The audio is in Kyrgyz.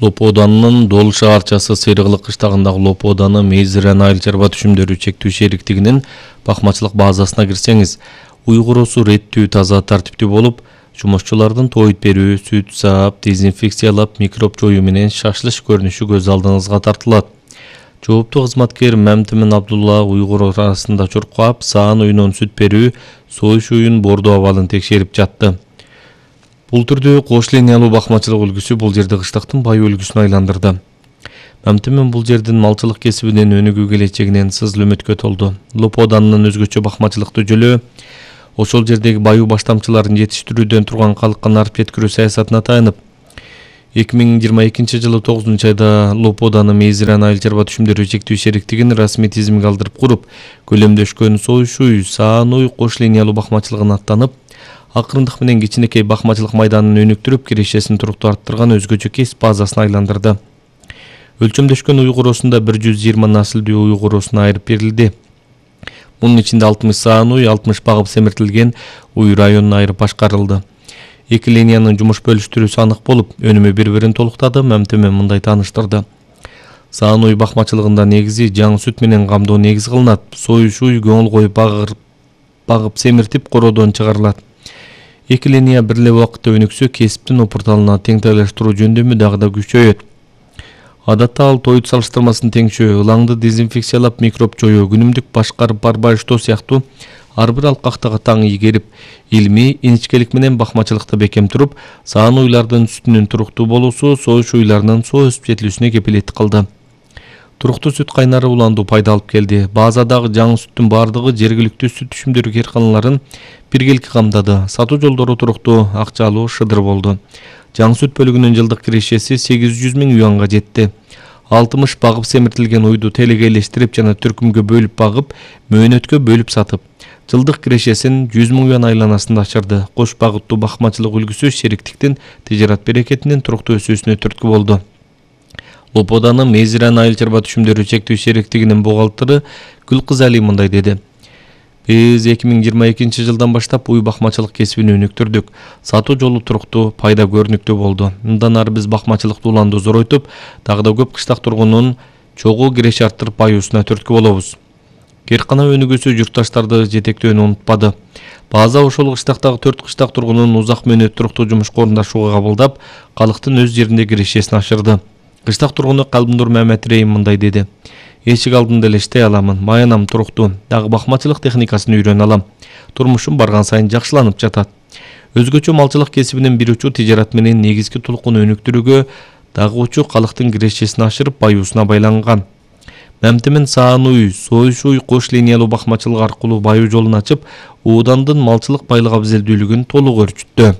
Лоподанын Дол шаарчасы Серыгылык кыштагындагы Лоподаны Мейзирен айыл чарба түшүмдөрү чектүү шериктигинин бакмачылык базасына кирсеңиз, уйгурусу реттүү, таза, тартиптүү болуп, жумушчулардын тоойт берүү, сүт саап, дезинфекциялап, микроб жоюу менен шашлыш көрүнүшү көз алдыңызга тартылат. Жооптуу кызматкер Мамтимин Абдулла уйгур арасында чуркап, саан уюнун сүт берүү, союш уюн бордоо абалын текшерип жатты. Бул түрдүү кош линиялуу бакмачылык үлгүсү бул жерде кыштактын бай үлгүсүнө айландырды. Мамтимин бул жердин малчылык кесибинен өнүгүү келечегинен сызыл үмүткө толду. Лоподанын өзгөчө бакмачылыкты жөлөө ошол жердеги баюу баштамчыларын жетиштирүүдөн турган калкка нарып жеткирүү саясатына таянып, 2022 жылы 9 айда Лоподаны Мейзирен айыл чарба түшүмдөрү чектүү шериктигин расмий тизимге алдырып куруп, көлөмдөшкөн союш уй, саан уй кош линиялуу бакмачылыгына аттанып, акырындык менен кичинекей бакмачылык майданын өнүктүрүп, кирешесин туруктуу арттырган өзгөчө кесип базасына айландырды. Өлчөмдөшкөн уйгурусунда 120 насылдуу уйгурусуна айырып берилди. Мунун ичинде 60 саан уй, 60 багып семиртилген уй районуна айырып башкарылды. Эки линиянын жумуш бөлүштүрүүсү анык болуп, өнүмү бири-бирин толуктады. Мамтимин мындай тааныштырды. Саан уй бакмачылыгында негизи жаңы сүт менен камдоо негиз кылынат. Союш уй көңүл коюп багып семиртип короодон чыгарылат. Эки линия бир эле убакытта өнүксө, кесиптин опурталына теңдештирүү жөндөмү дагы да күчөйөт. Адатта ал тоойт салыштырмасын теңшөө, ылаңды дезинфекциялап, микроб жоюу, күнүмдүк башкарып барбаштоо сыяктуу ар бир алкактыга таң ийгерип, илмий, иничкелик менен бакмачылыкта бекем туруп, саан уйлардын сүтүнүн туруктуу болуусу, союш уйларынын соо өсүп жетилүүсүнө кепилеттик кылды. Туруктуу сүт кайнары уланду пайда алып келди. Базадагы жаңы сүттүн бардыгы жергиликтүү сүт түшүмдөрү карканаларын биргеликке камдады. Сатуу жолдору туруктуу, акчалуу, шыдыр болду. Жаңы сүт бөлүгүнүн жылдык кирешеси 800 000 юанга жетти. 60 багып семиртилген уйду телеге элештирип жана түркүмгө бөлүп багып, мөөнөткө бөлүп сатып, жылдык кирешесин 100 000 юан айланасында ачырды. Кош багыттуу бакмачылык үлгүсү шериктиктин тижарат берекетинин туруктуу өсүүсүнө түрткү болду. Лоподаны Мейзирен айыл чарба түшүмдөрү чектүү шериктигинин бухгалтеры Гүлкыз Али мындай деди. Биз 2022 жылдан баштап уй бакмачылык кесибин өнүктүрдүк. Сатуу жолу туруктуу, пайда көрүнүктүү болду. Мындан ары биз бакмачылыкты уланды зоройтуп, дагы да көп кыштак тургунун чогуу киреш арттырып баюусуна түрткү болобуз. Керкана өнүгүүсү журтташтарды жетектөөнү унутпады. База ошол кыштактагы 4 кыштак тургунун узак мөөнөт туруктуу жумушка орундашууга кабылдап, калктын өз жеринде кирешесин ашырды. Кыштак тургуну Калбындур Мамет Рейим мындай деди. Эшик алдында эле иштей аламын, маянам туруктуу, дагы бакмачылык техникасын үйрөнө алам. Турмушум барган сайын жакшыланып жатат. Өзгөчө малчылык кесибинин бир учу тижарат менен негизги тулкун өнүктүрүүгө, дагы учу калктын кирешесин ашырып баюусуна байланган. Мамтимин саан уй, союш уй кош линиялуу бакмачылык аркылуу баюу жолун ачып, Оодандын малчылык байлык абзелдүүлүгүн толук өрчүттү.